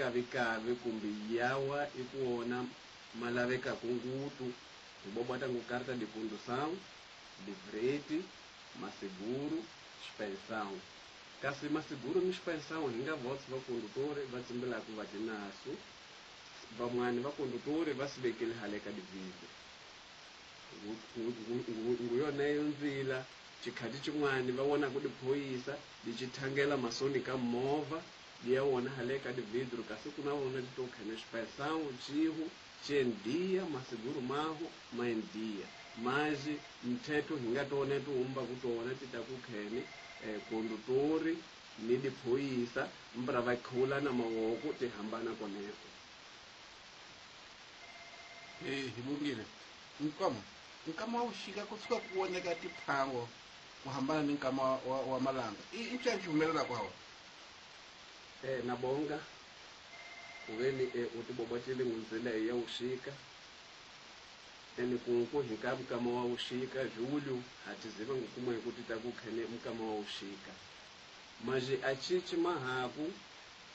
Kavikavi kumbe yawa i ku wona ma lavekaku ngutu hi bobota ngu carta de condução, livrete, maseguro, xipensão. Kasi maseguro ni xipensão hi nga vots va condutori va tsimbilaku va ti nasu, van'wani va condutori va si vekele hale ka dividro. Ngu yoneyo ndzila xikhati xin'wani va vonaku diphoyisa di ci thangela masoni ka movha di ya wona hale ka dividro kasi ku na vona ti to khene xipensão xihu xi endia maseguro mahu ma endia maji mthetho hi nga tona ti humbaku tona ti ta ku khene condutori ni diphoyisa mbra va khula na mavoko ti hambana koneko. Hi vongile nkama nkama wa vuxika kusuka ku voneka tiphango ku hambana ni nkama wa malanga i ncani xi humelelaka hawa? Na bonga kuveni u tibobotile ngunzila ya vuxika ene kunku hi ka mukama wa vuxika julho ha tiziva ngukuma hi ku ti ta ku khene mukama wa vuxika maji a cici mahaku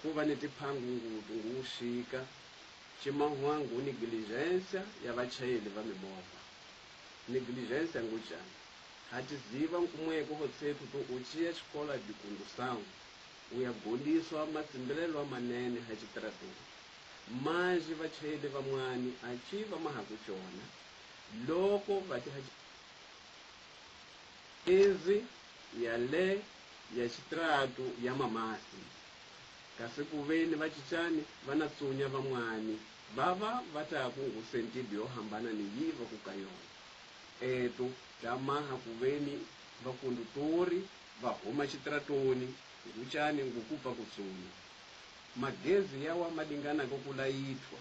ku va ni tiphangu ngutu ngu vuxika cimahwangu negligência ya vachayeli va mimovha. Negligência ngujani? Ha tiziva nkumweko hotsethu to u ciya xikola de condução u ya gondiswa matsimbilelo manene ha xitarateni. Maji vachayeli van'wani a ci va mahaku cona loko va ti ezi ya le ya xitratu ya mamasi. Kasi ku veni va cicani va na tsunya van'wani va va va ta ku ngu sentido yo hambana ni yi va ku ka yona. Eto ta maha ku veni vakondutori va huma xitratoni ngucani ngukupa ku tsunya. Magezi yawa ma dinganaka ku layithwa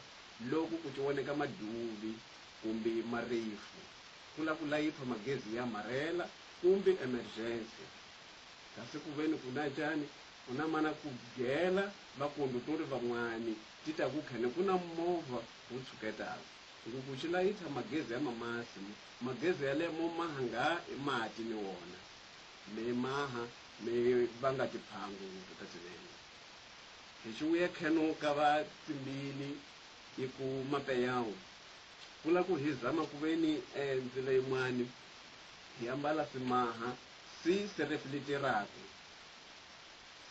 loko ku cioneka maduvi kumbe marefu ku la ku layithwa magezi ya marela kumbe emergency. Kasi ku veni ku na cani ku na mana ku byela vakondutori van'wani ti ta ku khene ku na movha wu tshuketaka. Nguku xi layitha magezi ya mamasi magezi ya le mo maha nga mati ni wona me maha me va nga tiphangu ta tinene. Hi xivuye kheno ka va tsimbili i ku mapeyawu ku la ku hi zama ku veni ndzila yin'wani hi ambala simaha si se refleteraku.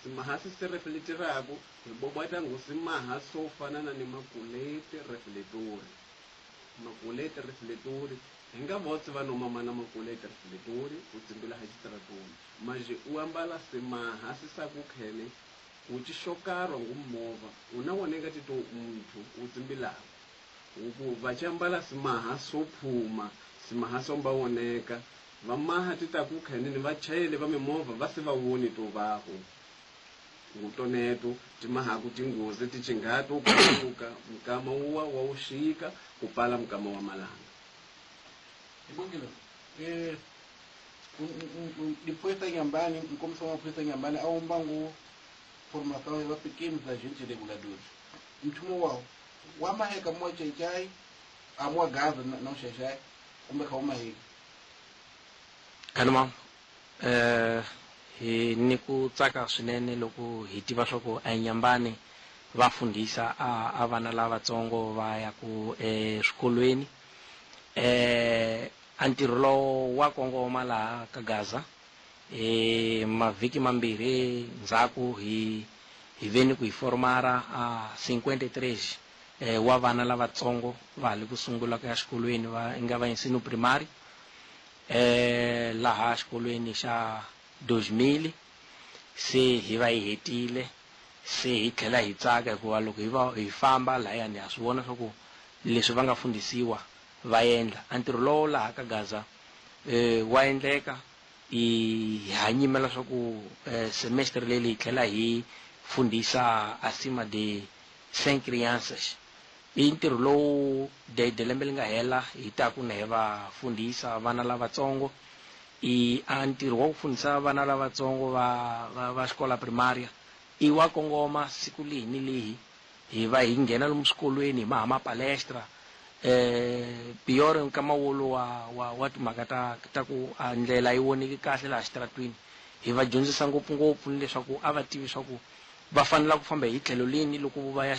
Simaha si se refleteraku hi bobota ngu simaha swo fana na ni makuleti refletori. Makuleti refletori hi nga votsi va no mamana makuleti refletori u tsimbila ha xitaratoni. Maji u ambala simaha si sa ku khene u ci xokarwa ngu movha u na woneka ti to muthu u tsimbilaku. Ku va ci ambala simaha swo phuma simaha swo mba woneka va maha ti ta ku khene ni vachayeli va mimovha va se va voni to vahu. Ngutoneto ti mahaku tinghozi ti cinghato kusuka mukama wuwa wa wuxika ku pala mukama wa malanga. Hi vongile diphorisa Nyambani nkomiso wa maphorisa Nyambani a wumba ngu formação ya pequenos agentes reguladores. Mchumo wao wa maheka mwa chechai amwa gaza na chechai kumbe kha maheka. Kanuma hi ni ku tsaka swinene loko hi tiva swa ku eNyambani va fundhisa a vana lavatsongo va ya ku eswikolweni. A ntirho lowo wa kongoma laha ka Gaza mavhiki mambirhi ndzhaku hi veni ku hi formara a 53 wa vana lavatsongo va ha le ku sungula ku ya xikolweni va nga va ensino primary laha xikolweni xa 2000 se hi va hi hetile se hi tlhela hi tsaka hikuva loko hi va hi famba lahayani ha swi vona swa ku leswi va nga fundhisiwa va endla. A ntirho lowo laha ka Gaza wa endleka hi hanyimela swa ku semestre leyi hi tlhela hi fundhisa acima de 5 crianças. I ntirho lowu de lembe li nga hela hi ta ku na hi va fundhisa vana lavatsongo. I a ntirho wa ku fundhisa vana lavatsongo va xikola primaria i wa kongoma siku lihi ni lihi hi va hi nghena lomu swikolweni hi maha mapalestra pior nkama wolo wa timhaka ta ku a ndlela yi voneki kahle laha xitaratwini hi va dyondzisa ngopfungopfu ni leswaku a va tivi swa ku va fanela ku famba hi tlhelo lini loko va ya